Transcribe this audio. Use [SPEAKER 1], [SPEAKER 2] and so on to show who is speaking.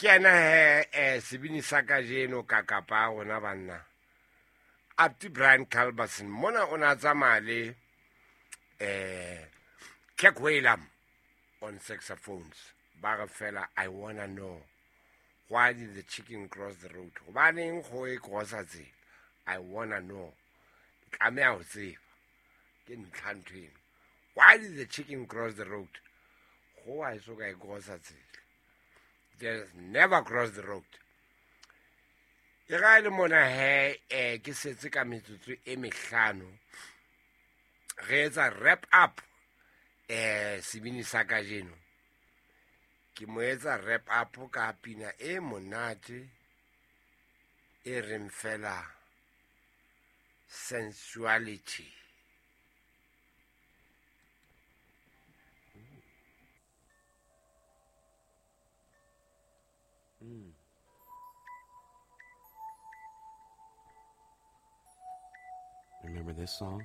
[SPEAKER 1] Ke ena he sebini sa kajeno ka kapa rona banna. Apti Brian Culbertson mona o na tsamaya le Kirk Whalum on saxophones. Ba re fela I wanna know why did the chicken cross the road? Hobaneng kgoho e crossa tsela? I wanna know. Ke tlameha ho tseba. Ke ntlha ntho eno. Why did the chicken cross the road? Kgoho ha e so ka e crossa tsela. Just never cross the road. E ga e le mona he ke setse ka metsotso e mehlano re etsa wrap up sebini sa kajeno. Ke mo etsa wrap up ka pina e monate e reng fela sensuality.
[SPEAKER 2] Remember this song?